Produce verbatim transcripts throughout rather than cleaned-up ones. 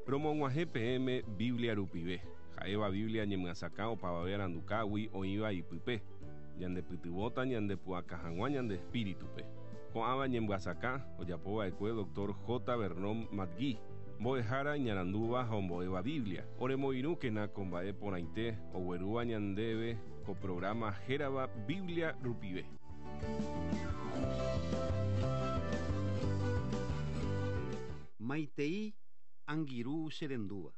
Romog̃uahẽ peẽme Biblia rupive. Ha'éva Biblia ñemyasakã opavave arandukágui oĩva ipype. Ñandepytyvõta ñandepu'aka hag̃ua ñande espíritupe. Ko'ãva ñemyasakã ojapova'ekue doctor J. Vernon McGee, mbo'ehára iñarandúva ha ombo'éva Biblia. Oremoirũkena ko mba'e porãite oguerúva ñandéve ko programa hérava Biblia rupive. Maitei Angirũ cherendúva.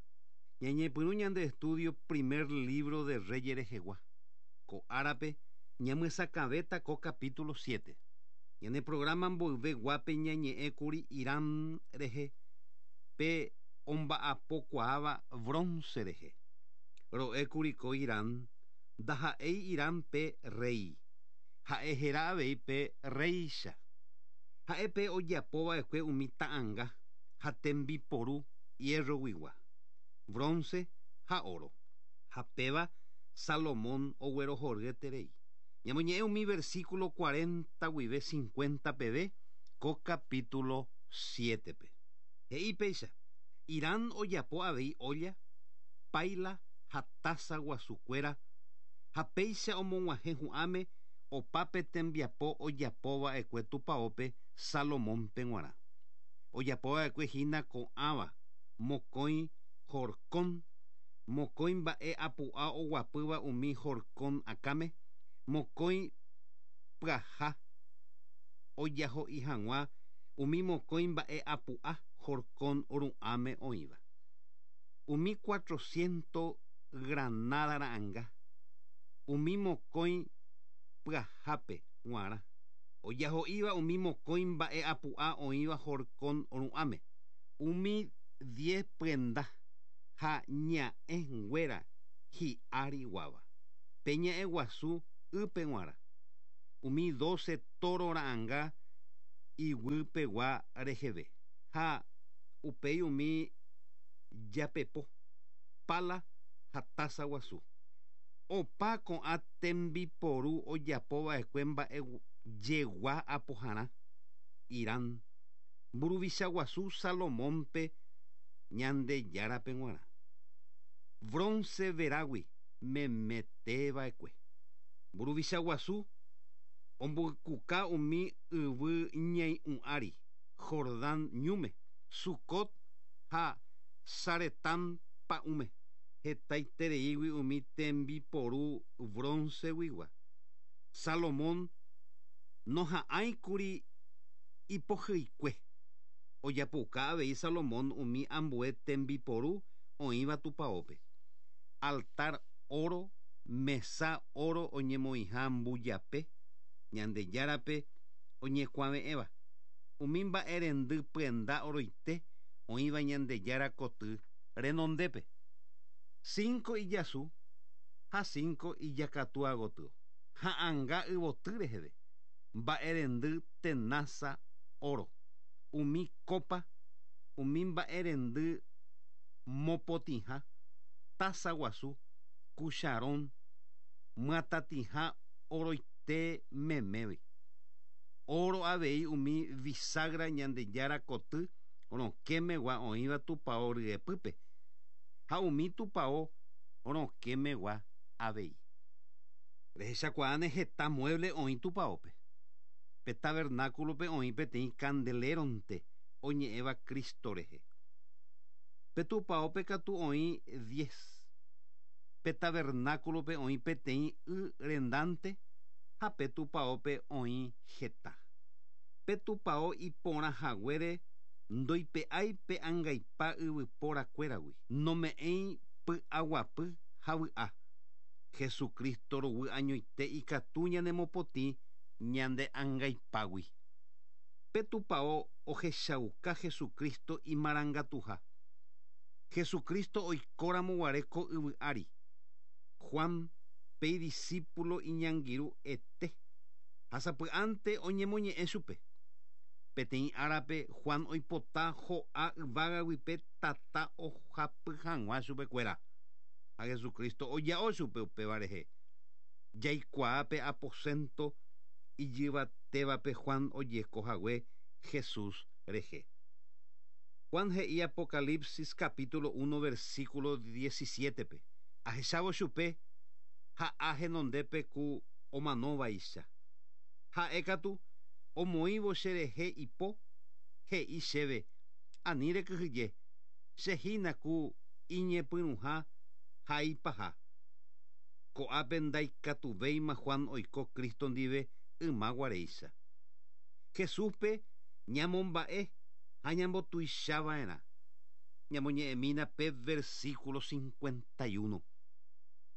Ñañepyrũ ñande estudio primer libro de Reyes rehegua. Ko árape ñamyesakãvéta ko capítulo siete. Ñane programa mboyve guápe ñañe'ẽkuri Irán rehe pe omba'apokuaáva bronce rehe. Ro'ékuri ko Irán ndaha'éi Irán pe rey. Ha'e héra avei pe reícha. Ha'e pe ojapova'ekue umi ta'ãnga ha tembiporu hierro-guigua, bronce ha oro. Ha péva Salomón oguerohoryeterei. Ñamoñe'ẽ umi versículo cuarenta guive cincuenta peve ko capítulo siete-pe. He'i péicha, Irán ojapo avei olla, paila ha taza guasukuéra ha péicha omog̃uahẽ hu'ãme opápe tembiapo ojapova'ekue tupãópe Salomónpe g̃uarã. Ojapova'ekue hína ko'ãva mokõi horkon, mokõi mba'e apu'a oguapýva umi horkon akãme, mokõi pyaha ojaho'i hag̃ua umi mokõi mba'e apu'a horkon ru'ãme oĩva. Umi cuatrocientos granada ra'ãnga, umi mokõi pyahápe g̃uarã. Ojaho'íva umi mokõi mba'e apu'a oĩva horkon ru'ãme. Umi diez pyenda ha ña'ẽnguéra hi'ariguáva. Pe ña'ẽ guasu ýpe g̃uarã. Umi doce toro ra'ãnga iguýpegua reheve. Ha upéi umi japepo, pala ha taza guasu. Opa ko'ã tembiporu ojapova'ekue mba'e jegua apoharã Irán mburuvicha guasu Salomónpe Ñandejárape g̃uarã. Bronce verágui memeteva'ekue. Mburuvicha guasu omboykuka umi yvy ñai'ũ ári Jordán ñúme, Sucot ha Saretán pa'ũme. Hetaitereígui umi tembiporu bronce-guigua. Salomón noha'ãikuri ipohýikue. Ojapoka avei Salomón umi ambue tembiporu oĩva tupãópe. Altar oro, mesa oro oñemoĩha mbujape, Ñandejárape oñekuave'ẽva. Umi mba'erendy pyenda oroite oĩva Ñandejára koty renondépe. Cinco ijasu ha cinco ijakatúa gotyo. Ha'ãnga yvoty reheve. Mba'erendy tenaza oro. Umi copa, umi mba'erendy mopotĩha, taza guasu, cucharón, myatatĩha oroite memévi. Oro avei umi bisagra Ñandejára koty rokẽmegua oĩva tupão ryepýpe ha umi tupão rokẽmegua avei. Rehechakuaáne heta mueble oĩ tupãópe. Pe tabernáculope oĩ peteĩ candeleronte oñe'ẽva Cristo rehe. Pe tupãópe katu oĩ diez. Pe tabernáculope oĩ peteĩ y rendante ha pe tupãópe oĩ heta. Pe tupão iporã haguére ndoipe'ái pe angaipa yvyporakuéragui. Nome'ẽi py'aguapy ha vy'a. Jesucristo ruguy añoite ikatu ñanemopotĩ ñande angaipágui. Pe tupão ohechauka Jesucristo imarangatuha. Jesucristo oikóramo guare ko yvy ári. Juan pe discípulo iñangirũ ete. Ha sapy'ánte oñemoñe'ẽ chupe. Peteĩ árape Juan oipota ho'a yvágagui pe tata ohapy hag̃ua chupekuéra. Ha Jesucristo oja'o chupe upéva rehe. Jaikuaa pe aposento ijyvatévape Juan ojeko hague Jesús rehe. Juan he'i Apocalipsis capítulo uno versículo diecisiete pe. Ahechávo chupe ha henondépe ku omanóvaicha. Ha'e katu omoĩvo cherehe ipo he'i chéve ani rekyhyje che hína ku iñepyrũha ha ipaha. Ko'ápe ndaikatuvéima Juan oiko Cristo ndive ymaguaréicha. Jesúspe ñamomba'e ha ñambotuichava'erã. Ñamoñe'ẽmína pe versículo cincuenta y uno.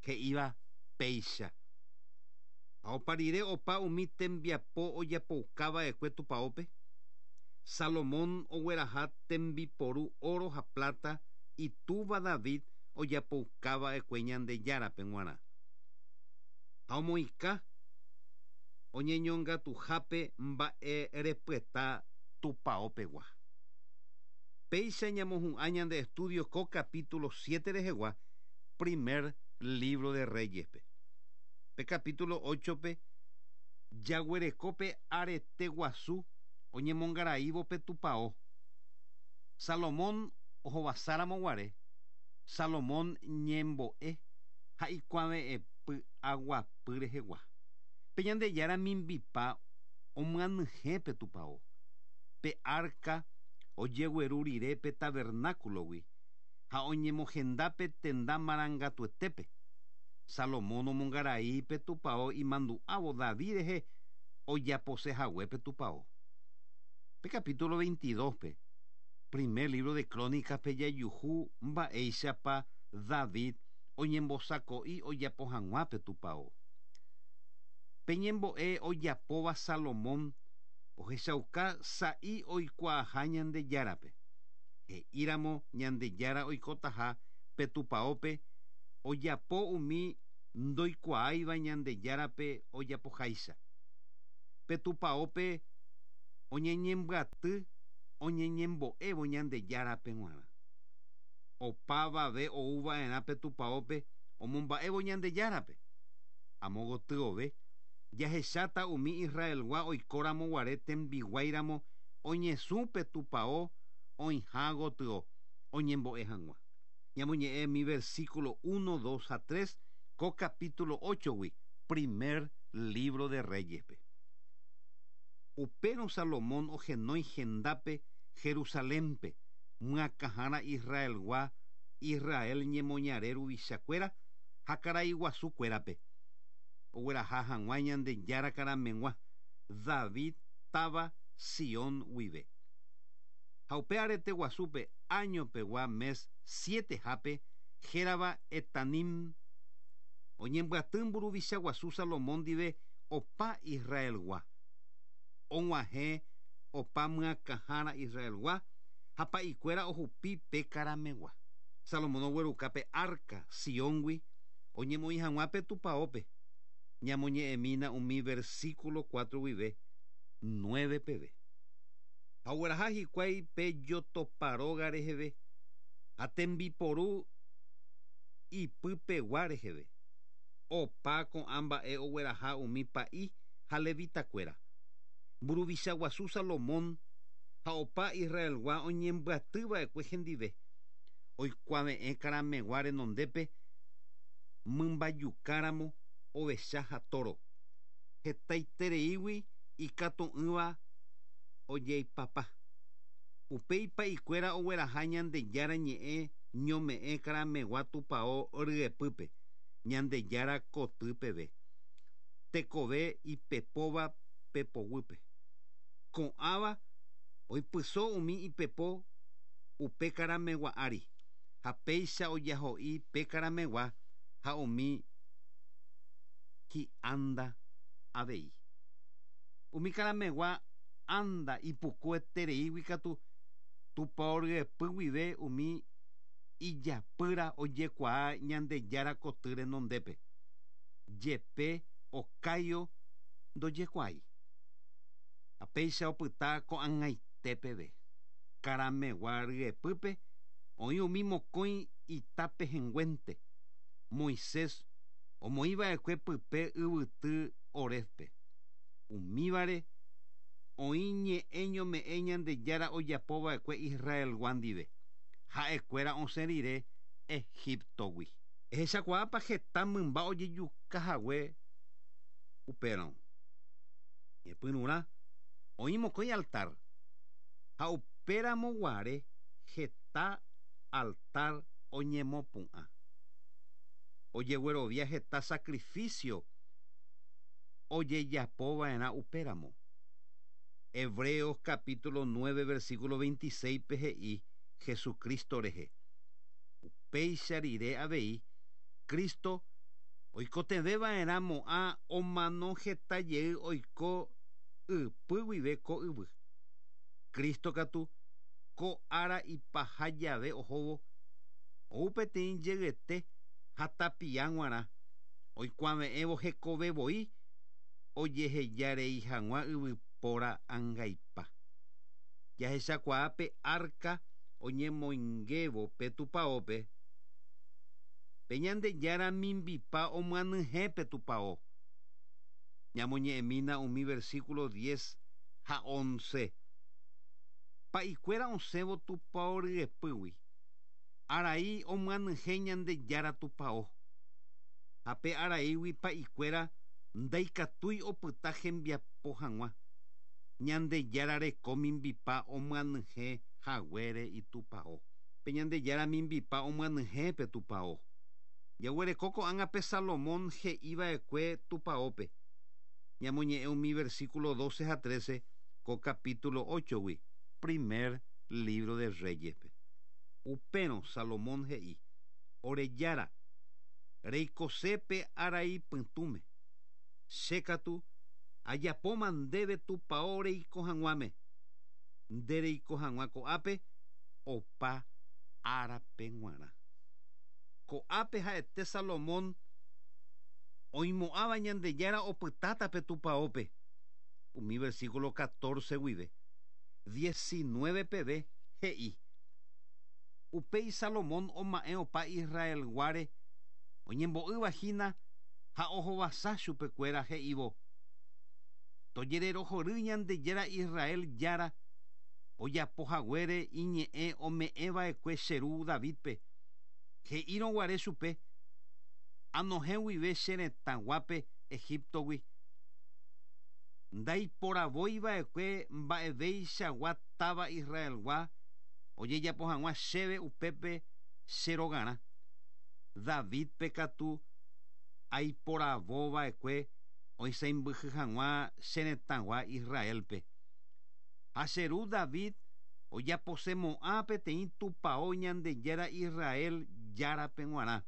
He'íva péicha. Ha oparire opa umi tembiapo ojapoukava'ekue tupaópe. Salomón ogueraha tembiporu oro ha plata itúva David ojapoukava'ekue Ñandejárape g̃uarã. Ha omoĩka oñeñongatuhápe mba'erepyeta tupaopegua. Péicha ñamohu'ã ñande estudio ko capítulo siete rehegua, primer libro de Reyespe. Pe capítulo ocho pe jaguerekópe arete guasu oñemongaraívo pe tupao. Salomón ohovasáramo guare, Salomón ñembo'e ha ikuave'ẽpy aguapy rehegua. Pe Ñandejára mimbipa omyanyhẽ pe tupao. Pe arca ojegueru rire pe tabernáculogui ha oñemohendápe tenda marangatuetépe. Salomón omongarai pe tupao imandu'ávo David rehe ojaposehague pe tupao. Pe capítulo veintidós pe, primer libro de Crónicas pe jayuhu mba'éichapa David oñembosako'i ojapo hag̃ua pe tupao. Pe ñembo'e ojapóva Salomón ohechauka sa'i oikuaaha Ñandejárape. He'íramo Ñandejára oikotaha pe tupaópe ojapo umi ndoikuaáiva Ñandejárape ojapoháicha. Pe tupaópe oñeñembyaty oñeñembo'évo Ñandejárape g̃uarã. Opavave ouva'erã pe tupaópe omomba'évo Ñandejárape. Amogotyove jahecháta umi Israelgua oikóramo guare tembiguáiramo oñesũ pe tupao oĩha gotyo oñembo'e hag̃ua. Ñamoñe'ẽ mi versículo uno, dos a tres ko capítulo ocho gui, primer libro de Reyespe. Upérõ Salomón ohenói hendápe Jerusalénpe, myakãhára Israelgua, Israel ñemoñare ruvichakuéra ha karaiguasukuérape. Ogueraha hag̃ua Ñandejára karameg̃ua David táva Sion guive. Ha upe arete guasúpe año pegua mes siete hápe hérava Etanim oñembyaty mburuvicha guasu Salomón ndive opa Israelgua. Og̃uahẽ opa myakãhára Israelgua ha pa'ikuéra ohupi pe karamegua. Salomón ogueruka pe arca Sióngui oñemoĩ hag̃ua pe tupaópe. Ñamoñe'ẽmína umi versículo cuatro guive nueve peve. Ha ogueraha hikuái pe jotoparóga reheve ha tembiporu ipypegua reheve. Opa ko'ã mba'e ogueraha umi pa'i ha levitakuéra. Mburuvicha guasu Salomón ha opa Israelgua oñembyatyva'ekue hendive. Oikuave'ẽ karamegua renondépe mymbayukáramo ovecha ha toro. Hetaitereígui ikatu'ỹva ojeipapa. Upéi pa'ikuéra ogueraha Ñandejára ñe'ẽ ñome'ẽ karamegua tupao ryepýpe, Ñandejára koty peve. Tekove ipepóva pepoguýpe. Ko'ãva oipyso umi ipepo upe karamegua ári ha péicha ojaho'i pe karamegua ha umi hi'ánda avei. Umi karamegua anda ipukuetereígui katu tupao ryepy guive umi ijapýra ojekuaa Ñandejára koty renondépe. Jepe okáio ndojekuaái. Ha péicha opyta ko'ag̃aite peve. Karamegua ryepýpe oĩ umi mokõi itape henguénte. Moisés omoĩva'ekue pype yvyty Horébpe. Umívare Oĩ ñe'ẽ ñome'ẽ Ñandejára ojapova'ekue Israelgua ndive ha'ekuéra osẽ rire Egiptogui. Ehechakuaápa heta mymba ojejukahague upérõ. Ñepyrũrã oĩ mokõi altar ha upéramoguare heta altar oñemopu'ã. Ojeguerovia heta sacrificio ojejapova'erã upéramo. Hebreos capítulo nueve versículo veintiséis pe he'i Jesucristo rehe. Upéicha rire avei Cristo oikotevẽva'erã mo'ã omano heta jey oiko ypy guive ko yvy. Cristo katu ko ára ipaha jave ohóvo ou peteĩ jeyete ha tapia g̃uarã oikuave'ẽvo hekove voi ojehejarei hag̃ua yvypóra angaipa. Jahechakuaa pe arca oñemoingévo pe tupãópe pe Ñandejára mimbipa omyanyhẽ pe tupão. Ñamoñe'ẽmína umi versículo diez ha once. Pa'ikuéra osẽvo tupão ryepýgui arai omyanyhẽ Ñandejára tupão. Ha pe araígui pa'ikuéra ndaikatúi opyta hembiapo hag̃ua. Ñandejára reko mimbipa omyanyhẽ haguére itupão. Pe Ñandejára mimbipa omyanyhẽ pe tupão. Jaguereko ko'ág̃a pe Salomón he'iva'ekue tupãópe. Ñamoñe'ẽ umi versículo doce ha trece ko capítulo ocho-gui, primer libro de Reyes-pe. Upérõ Salomón he'i: Ore Jára, reikosépe arai pytũme. Che katu ajapóma ndéve tupão reiko hag̃uáme. Nde reiko hag̃ua ko'ápe opa árape g̃uarã. Ko'ápe ha'ete Salomón oimo'ãva Ñandejára opytáta pe tupãópe. Umi versículo catorce guive diecinueve peve he'i. Upéi Salomón oma'ẽ opa Israelguáre oñembo'yvahína ha ohovasa chupekuéra he'ívo. Tojererohory Ñandejára Israel Jára ojapohaguére iñe'ẽ ome'ẽva'ekue che ru Davidpe. He'írõguare chupe anohẽ guive che retãguápe Egiptogui. Ndaiporavoiva'ekue mba'eveichagua táva Israelgua ojejapo hag̃ua chéve upépe che rogarã. Davidpe katu aiporavova'ekue oisãmbyhy hag̃ua che retãgua Israelpe. Ha che ru David ojaposemo'ã peteĩ tupão Ñandejára Israel Járape g̃uarã.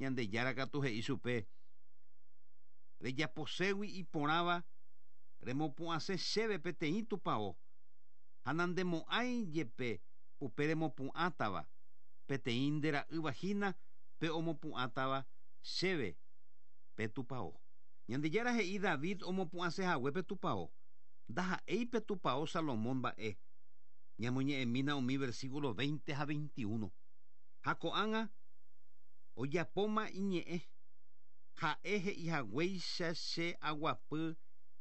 Ñandejára katu he'i chupe: Rejaposégui iporãva remopu'ãse chéve peteĩ tupão ha nandemo'ãi jepe upe remopu'ãtava peteĩ ndera'ývahína pe omopu'ãtava chéve pe tupão. Ñandejára he'i David omopu'ãsehague pe tupão. Ndaha'éi pe tupão Salomón mba'e. Ñamoñe'ẽmína umi versículo veinte ha veintiuno. Ha ko'ág̃a ojapóma iñe'ẽ. Ha'e he'ihaguéicha che aguapy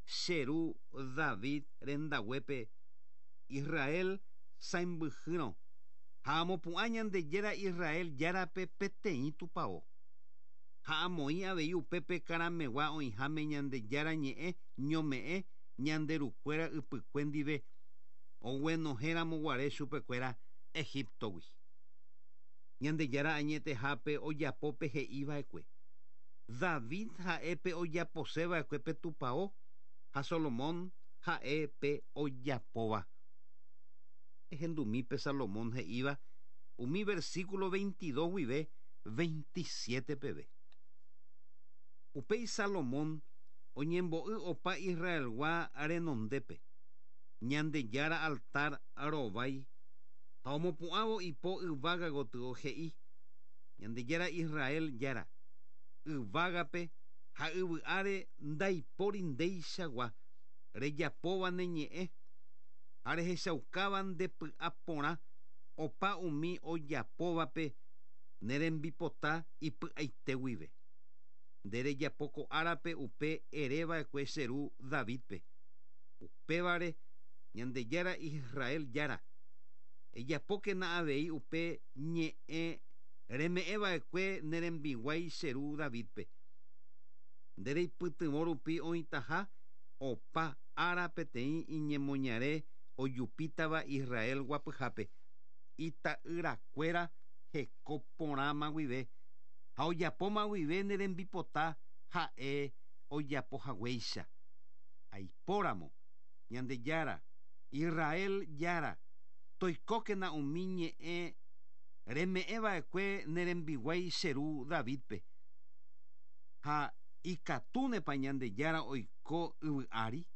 che ru David rendaguépe Israel sãmbyhýrõ ha amopu'ã Ñandejára Israel Járape peteĩ tupão. Ha amoĩ avei upépe karamegua oĩháme Ñandejára ñe'ẽ ñome'ẽ ñanderukuéra ypykue ndive oguenohẽramoguare chupekuéra Egiptogui. Ñandejára añetehápe ojapópe he'iva'ekue. David ha'épe ojaposeva'ekue pe tupão ha Salomón ha'épe ojapóva. Ehendumi pe Salomón he'íva umi versículo veintidós guive veintisiete peve. Upéi Salomón oñembo'y opa Israelgua renondépe. Ñandejára altar rovái ha omopu'ãvo ipo yvága gotyo he'i Ñandejára Israel Jára yvágape ha yvy'áre ndaipóri ndeichagua rejapóva ne ñe'ẽ ha rehechaukáva ndepy'aporã opa umi ojapóvape ne rembipota ipy'aite guive. Nde rejapo ko árape upe ereva'ekue che ru Davidpe. Upévare Ñandejára Israel Jára ejapókena avei upe ñe'ẽ reme'ẽva'ekue ne rembiguái che ru Davidpe. Nde reipytyvõ rupi oĩtaha opa ára peteĩ iñemoñare ojupítava Israel guapyhápe ita'yrakuéra heko porãma guive ha ojapóma guive ne rembipota ha'e ojapohaguéicha. Aipóramo Ñandejára Israel Jára toikókena umi ñe'ẽ reme'ẽva'ekue ne rembiguái che ru Davidpe. Ha ikatúnepa Ñandejára oiko yvy ári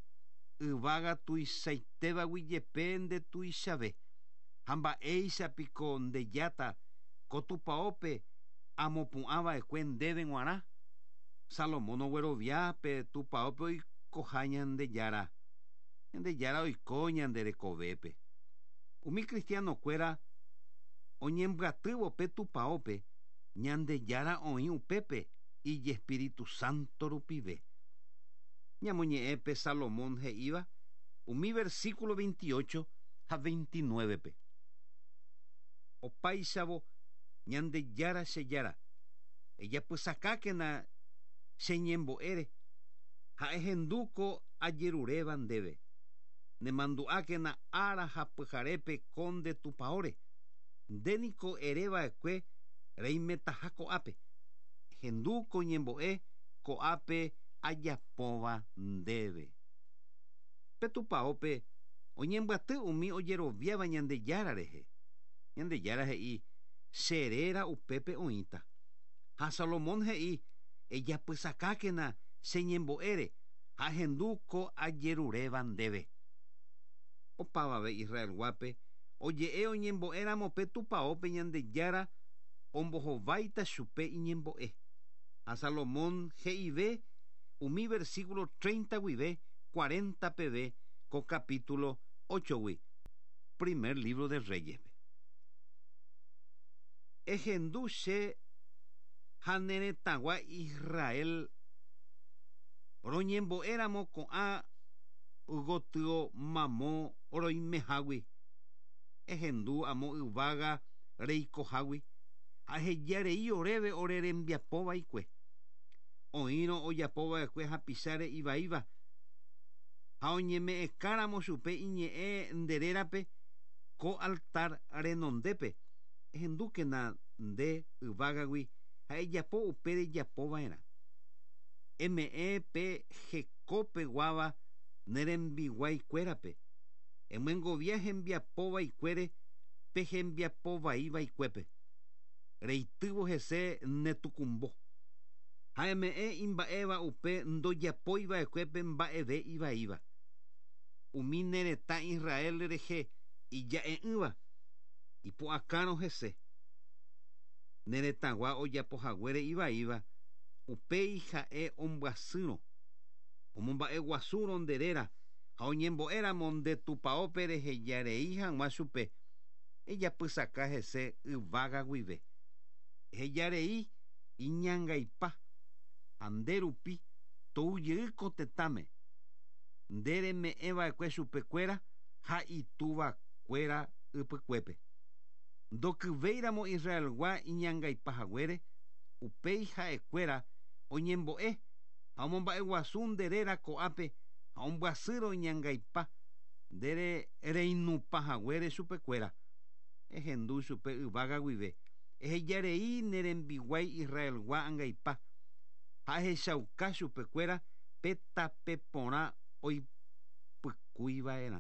yvága tuichaitévagui jepe ndetuichave ha mba'éichapiko ndejáta ko tupãópe amopu'ãva'ekue ndéve g̃uarã. Salomón oguerovia pe tupãópe oikoha Ñandejára. Ñandejára oiko ñande rekovépe. Umi cristianokuéra oñembyatývo pe tupãópe Ñandejára oĩ upépe Ijespíritu Santo rupive. Ñamoñe'ẽpe Salomón he'íva umi versículo veintiocho ha veintinueve-pe. Opáichavo Ñandejára che Jára ejapysakákena che ñembo'ére ha ehendúko ajeruréva ndéve. Nemandu'ákena ára ha pyharépe ko nde tupãóre. Ndéniko ereva'ekue reimetaha ko'ápe. Ehendúko ñembo'e ko'ápe ajapóva ndéve. Pe tupãópe oñembyaty umi ojeroviáva Ñandejára rehe. Ñandejára he'i che réra upépe oĩta. Ha Salomón he'i ejapysakákena che ñembo'ére ha ehendúko ajeruréva ndéve. Opavave Israelguápe oje'e oñembo'éramo pe tupãópe Ñandejára ombohováita chupe iñembo'e. Ha Salomón he'ive umi versículo treinta guive cuarenta peve ko capítulo ocho-gui, primer libro de Reyes-pe. Ehendu che ha ne retãgua Israel roñembo'éramo ko'ã gotyo mamo roimehágui. Ehendu amo yvága reikohágui ha ehejarei oréve ore rembiapova'ekue. Oĩrõ ojapova'ekue hapicháre ivaíva ha oñeme'ẽkáramo chupe iñe'ẽ nde rérape ko altar renondépe. Ehendúkena nde yvágagui ha ejapo upe rejapova'erã. Eme'ẽ pe hekópeguáva ne rembiguaikuérape. Emyengovia hembiapova'ekuére pe hembiapovaiva'ekuépe. Reitývo hese netukumbo. Ha eme'ẽ imba'éva upe ndojapoiva'ekuépe mba'eve ivaíva. Umi ne retã Israel rehe ija'e'ỹva ipu'akárõ hese. Ne retãgua ojapohaguére ivaíva upéi ha'e ombyasýrõ omomba'eguasúrõ nde réra ha oñembo'éramo nde tupãópe rehejarei hag̃ua chupe ejapysaka hese yvága guive. Ehejarei iñangaipa ha nde rupi toujey ko tetãme. Nde reme'ẽva'ekue chupekuéra ha itúvakuéra ypykuépe. Ndokyvéiramo Israelgua iñangaipahaguére upéi ha'ekuéra oñembo'e ha omomba'eguasu nde réra ko'ápe ha ombyasýrõ iñangaipa nde reinupahaguére chupekuéra. Ehendu chupe yvága guive. Ehejarei ne rembiguái Israelgua angaipa ha ehechauka chupekuéra pe tape porã oipykuiva'erã.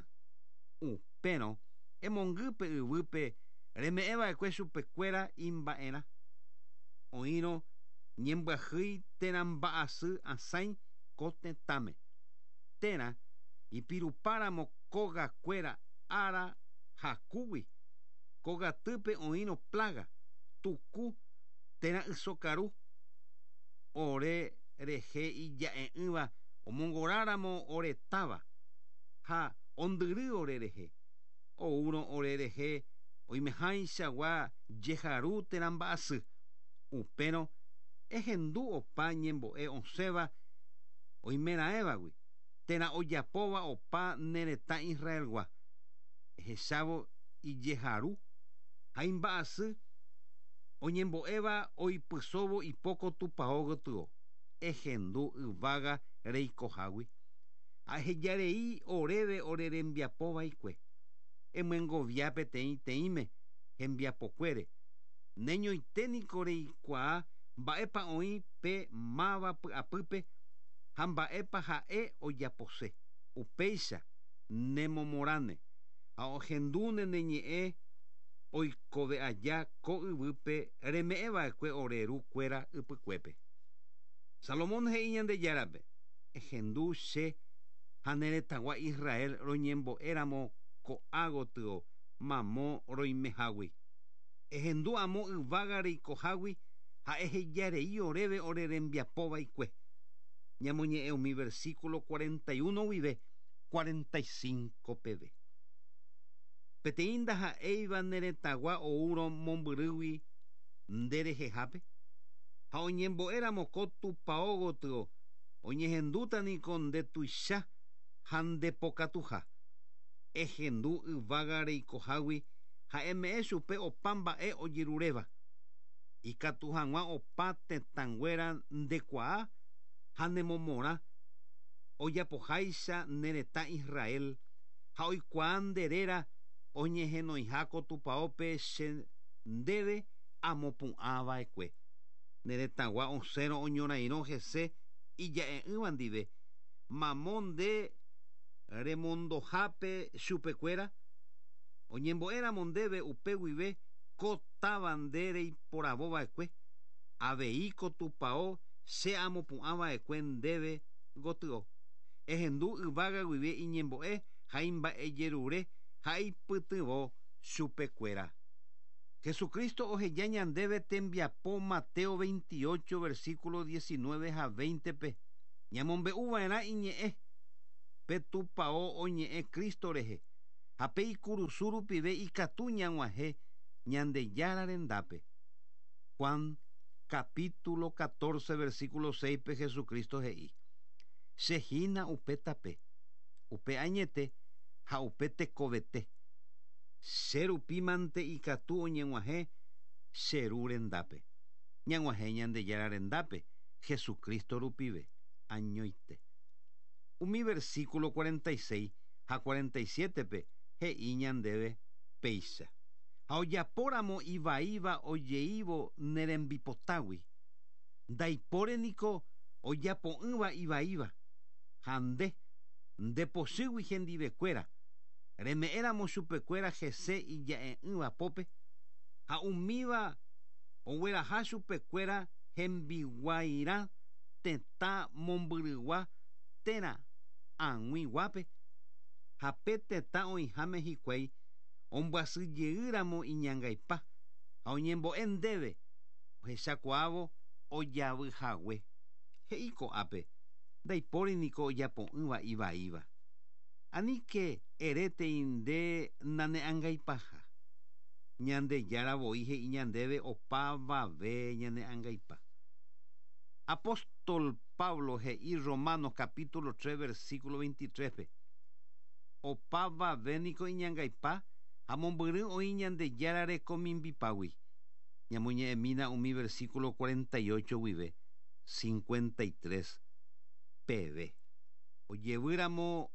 Upérõ emongýpe yvýpe reme'ẽva'ekue chupekuéra imba'erã. Oĩrõ ñembyahýi térã mba'asy asãi ko tetãme. Térã ipirupáramo kógakuéra ára hakúgui. Kogatýpe oĩrõ plaga, tuku térã ysokaru. Ore rehe ija'e'ỹva omongoráramo oretáva ha ondyry ore rehe. Oúrõ ore rehe oimehaichagua jeharu térã mba'asy. Upérõ ehendu opa ñembo'e osẽva oimeraẽvagui. Térã ojapóva opa ne retã Israelgua. Ehechávo ijeharu ha imba'asy oñembo'éva oipysóvo ipóko tupão gotyo. Ehendu yvága reikohágui. Ahejarei oréve ore rembiapova'ekue. Emyengovia peteĩ teĩme hembiapokuére. Neñoite niko reikuaa mba'épa oĩ pe máva py'apýpe ha mba'épa ha'e ojapose. Upéicha nemomorãne ha ohendúne ne ñe'ẽ oikove aja ko yvýpe reme'ẽva'ekue ore rukuéra ypykuépe. Salomón he'i Ñandejárape ehendu che ha ne retãgua Israel roñembo'éramo ko'ã gotyo mamo roimehágui. Ehendu amo yvága reikohágui ha ehejarei oréve ore rembiapova'ekue. Ñamoñe'ẽ umi versículo cuarenta y uno guive cuarenta y cinco peve. Peteĩ ndaha'éiva ne retãgua oúrõ mombyrýgui nderehehápe ha oñembo'éramo ko tupão gotyo oñehendúta niko ndetuicha ha ndepokatuha. Ehendu yvága reikohágui ha eme'ẽ chupe opa mba'e ojeruréva. Ikatu hag̃ua opa tetãnguéra ndekuaa ha nemomorã ojapoháicha ne retã Israel ha oikuaa nde réra oñehenoiha ko tupãópe che ndéve amopu'ãva'ekue. Ne retãgua osẽrõ oñorairõ hese ija'e'ỹva ndive. Mamo nde remondohápe chupekuéra oñembo'éramo ndéve upe guive ko táva nde reiporavova'ekue avei ko tupão che amopu'ãva'ekue ndéve gotyo. Ehendu yvága guive iñembo'e ha imba'ejerure ha ipytyvõ chupekuéra. Jesucristo oheja ñandéve tembiapo Mateo veintiocho versículo diecinueve ha veinte pe. Ñamombe'uva'erã iñe'ẽ pe tupão oñe'ẽ Cristo rehe ha pe ikurusu rupive ikatu ñag̃uahẽ Ñandejára rendápe. Juan capítulo catorce versículo seis pe Jesucristo he'i: Che hína upe tape, upe añete ha upe tekovete. Che rupi mante ikatu oñeg̃uahẽ che ru rendápe. Ñag̃uahẽ Ñandejára rendápe Jesucristo rupive añoite. Umi versículo cuarenta y seis ha cuarenta y siete pe he'i ñandéve péicha. Ha ojapóramo ivaíva ojeívo nerembipotágui. Ndaipóre niko ojapo'ỹva ivaíva. Ha nde, ndepochýgui hendivekuéra. Reme'ẽramo chupekuéra hese ija'e'ỹva pópe. Ha umíva ogueraha chupekuéra hembiguairã tetã mombyrygua térã ag̃uiguápe. Ha pe tetã oĩháme hikuái ombyasyjeýramo iñangaipa ha oñembo'e ndéve ohechakuaávo ojavyhague. He'i ko'ápe ndaipóri niko ojapo'ỹva ivaíva. Aníke erétei nde nane'angaipaha. Ñandejára voi he'i ñandéve opavave ñane'angaipa. Apóstol Pablo he'i Romanos capítulo tres versículo veintitrés pe. Opavave niko iñangaipa ha mombyry oĩ Ñandejára rekomimbipágui. Ñamoñe'ẽmína umi versículo cuarenta y ocho guive cincuenta y tres peve. Ojevýramo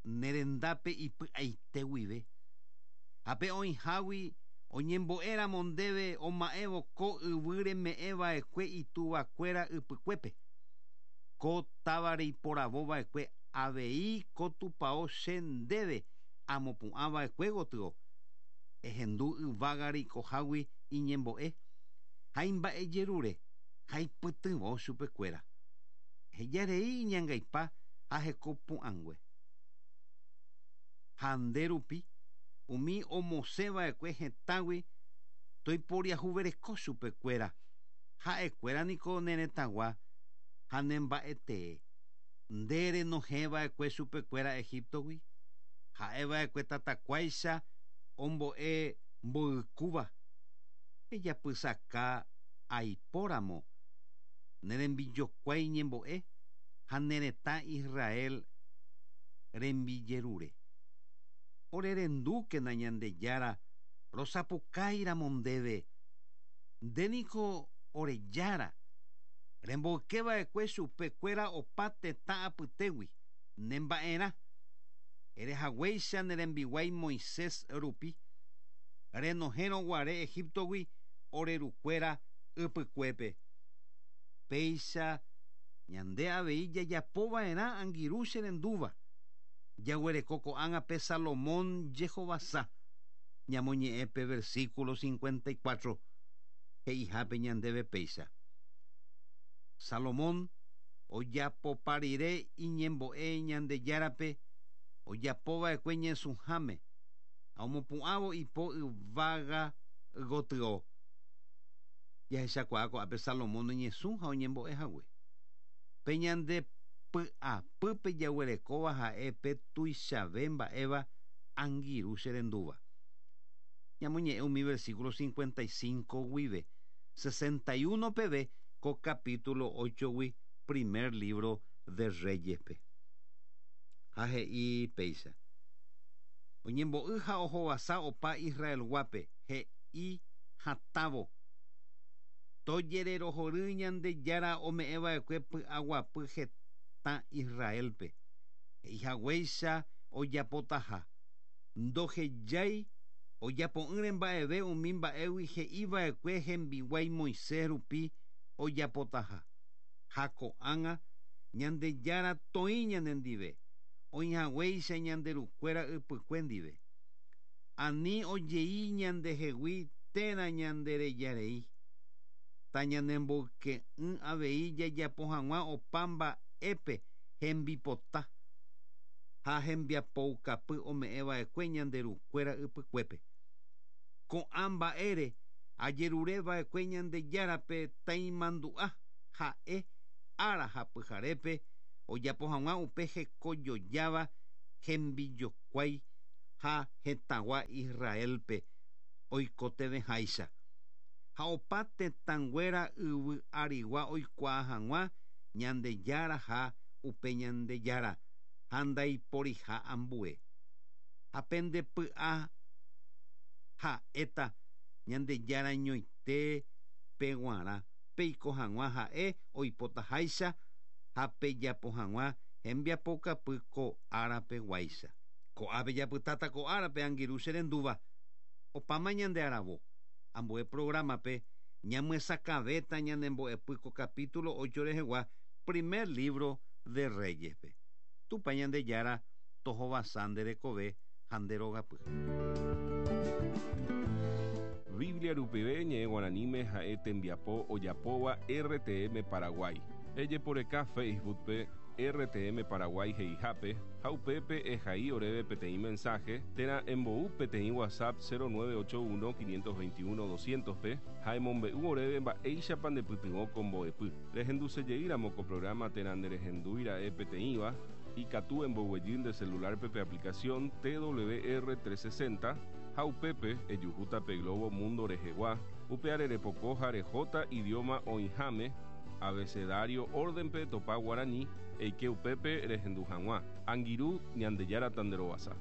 nerendápe ipy'aite guive. Ha pe oĩhágui oñembo'éramo ndéve oma'ẽvo ko yvy reme'ẽva'ekue ituvakuéra ypykuépe. Ko táva reiporavova'ekue avei ko tupão che ndéve amopu'ãva'ekue gotyo. Ehendu yvága reikohágui iñembo'e ha imba'ejerure ha ipytyvõ chupekuéra. Hejarei iñangaipa ha hekopu'ãngue. Ha nde rupi umi omosẽva'ekue hetãgui toiporiahuvereko chupekuéra. Ha'ekuéra niko ne retãgua ha nemba'etee. Nde renohẽva'ekue chupekuéra Egiptogui. Ha'eva'ekue tatakuáicha ombo'e mboykúva. Ejapysaka aipóramo nerembijokuái ñembo'e ha ne retã Israel rembijerure. Orerendúkena Ñandejára rosapukáiramo ndéve. Ndéniko orejára remboykeva'ekue chupekuéra opa tetã apytégui nemba'erã. Erehaguéicha nerembiguái Moisés rupi renohẽrõguare Egiptogui orerukuéra ypykuépe. Péicha ñande avei jajapova'erã angirũ cherendúva. Jaguereko ko'ág̃a pe Salomón jehovasa. Ñamoñe'ẽ pe versículo cincuenta y cuatro he'ihápe ñandéve péicha. Salomón ojapoparire iñembo'e Ñandejárape ojapova'ekue ñesũháme ha omopu'ãvo ipo yvága gotyo. Jahechakuaa ko'ápe Salomón oñesũ ha oñembo'ehague. Pe ñande py'apýpe jaguerekóva ha'e pe tuichave mba'éva angirũ cherendúva. Ñamoñe'ẽ umi versículo cincuenta y cinco guive sesenta y uno peve ko capítulo ocho gui primer libro de Reyespe. Ha he'i péicha. Oñembo'y ha ohovasa opa Israelguápe he'i hatãvo. Tojererohory Ñandejára ome'ẽva'ekue py'aguapy hetã Israelpe. He'ihaguéicha ojapotaha. Ndohejái ojapo'ỹre mba'eve umi mba'égui he'iva'ekue hembiguái Moisés rupi ojapotaha. Ha ko'ág̃a Ñandejára toĩ ñanendive oĩhaguéicha ñanderukuéra ypykue ndive. Ani ojei ñandehegui térã ñanderejarei. Tañanemboyke'ỹ avei jajapo hag̃ua opa mba'épe hembipota ha hembiapoukapy ome'ẽva'ekue ñanderukuéra ypykuépe. Ko'ã mba'ére ajerureva'ekue Ñandejárape taimandu'a ha'e ára ha pyharépe ojapo hag̃ua upe hekojojáva hembijokuái ha hetãgua Israelpe oikotevẽháicha. Ha opa tetãnguéra yvy arigua oikuaa hag̃ua Ñandejára ha upe Ñandejára ha ndaiporiha ambue. Ha pende py'a ha'éta Ñandejára ñoite peguarã peiko hag̃ua ha'e oipotaháicha ha pejapo hag̃ua hembiapokapy ko árapeguáicha. Ko'ápe japytáta ko árape angirũ cherendúva. Opáma ñande aravo. Ambue programape ñamyesakãvéta ñanembo'epy ko capítulo ocho rehegua primer libro de Reyespe. Tupã Ñandejára tohovasa nde rekove ha nde rogapy. Biblia rupive ñe'ẽ guaraníme ha'e tembiapo ojapóva R T M Paraguay. Ejeporeka Facebookpe R T M Paraguay he'ihápe ha upépe ehai oréve peteĩ mensaje térã embou peteĩ WhatsApp cero nueve ocho uno quinientos veintiuno doscientos pe ha emombe'u oréve mba'éichapa ndepytyvõ ko mbo'epy. Rehendusejeýramo ko programa térã nderehendúira'e peteĩva ikatu emboguejy nde celularpe pe aplicación T W R trescientos sesenta ha upépe ejuhúta pe Globo Mundo rehegua upe arerepoko ha rehóta idioma oĩháme abecedario órdenpe topa guarani eike upépe rehendu hag̃ua. Angirũ Ñandejára tanderovasa.